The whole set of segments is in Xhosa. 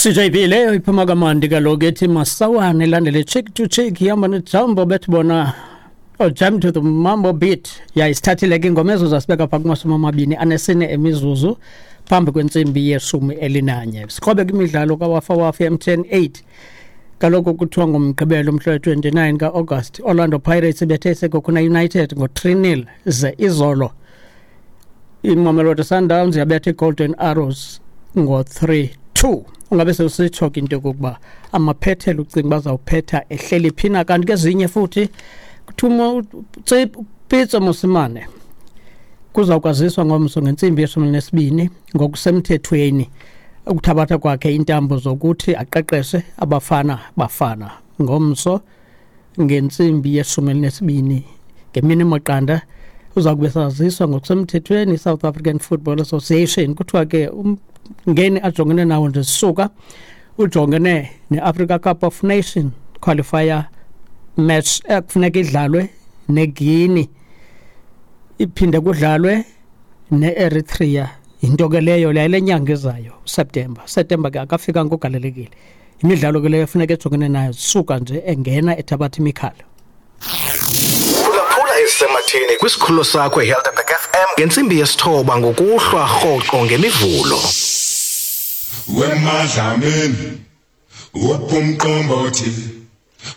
CJB leyo iphuma kamandi kaloku ethi masawane ilandele cheek to cheek ihamba nejambo bethi bona oh, jam to the mambo beat. Yayisithathile ke ingoma ezo zasibeka phaa kumashumi amabini anesine emizuzu phambi kwentsimbi yeshumi elinanye. Sikrobe kwimidlalo kawafawafa MTN 8. Kaloku kuthiwa ngoMgqibelo umhla we-29 ka-August, Orlando Pirates ibethe iSekhukhune United ngo-3-0 ze izolo iMamelodi Sundowns yabetha iGolden Arrows ngo-3-2. Ungabe sewusitsho ke into yokokuba amaphethelo ucinga bazawuphetha ehleli phina. Kanti kezinye futhi kuthiwa Pitso Mosimane kuzawukwaziswa ngomso ngentsimbi yeshumi elinesibini ngokusemthethweni ukuthabatha kwakhe intambo zokuthi aqeqeshe abafana bafana ngomso ngentsimbi yeshumi elinesibini ngemini maqanda uza kube saziswa ngokusemthethweni i-South African Football Association. Kuthiwa ke umngeni ajongene nawo nje sisuka ujongene ne-Africa Cup of Nation qualifier match ekufuneka idlalwe neGuinea, iphinde kudlalwe ne-Eritrea. Yinto ke leyo le nyanga ezayo September. September ke akafika ngogalelekile. Imidlalo ke leyo efuneka ejongene nayo suka nje engena ethabatha imikhala. Phulaphula ezisematheni kwisikhululo sakho iHelderberg FM ngentsimbi yesithoba ngokuhlwa rhoqo ngemivulo. Wemadlamini wopumqombothi,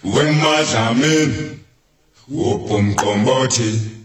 wemadlamini wopumqombothi.